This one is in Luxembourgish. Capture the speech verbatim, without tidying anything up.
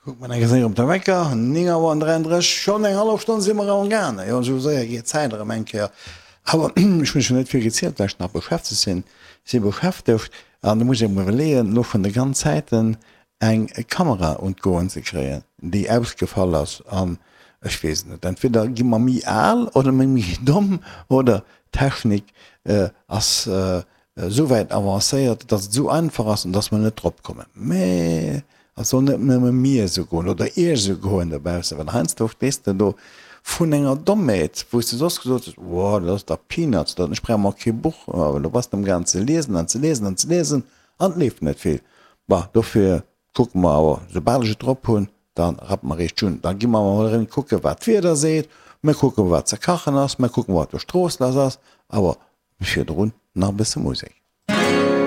Kuckt mer eng Kéier op de Wecker, néng Auer an dräiandrësseg, schonn eng hallef Stonn si mer am gaangen. Jo, esou séier geet d'Zäit erëm eng Kéier. Awer ech hunn schon net vill gezielt, well ech nach beschäftegt sinn. Si beschäftegt an do muss ech mer iwwerleeën, elo vun de ganz Zäiten eng Kamera un d'Goen ze kréien, déi ausgefall ass. An ech weess et net, entweder gi mer méi al oder mir méi domm oder d'Technik ass esou wäit avancéiert, dass et esou einfach ass an dass mer net drop kommen. Mä et soll net nëmme mir esou goen oder iech esou goen dobaussen, well heiansdo stees de do vrun enger Dommheet, wou s de soss gesot hues, Wow, dat ass dach Peanuts, dat, ech brauch mer kee Buch. Awer do bass de amgaang ze liesen an ze liesen an ze liesen an et leeft net vill. Bah, dofir kucke mer awer, soubal ech et drop hunn, da rappe mer eréischt un. Da gi mer emol erëm kucke wat d'Wieder seet, mir kucken, wat ze kachen ass, mir kucken, wat op der Strooss lass ass. Awer virdrun nach e bësse Musek.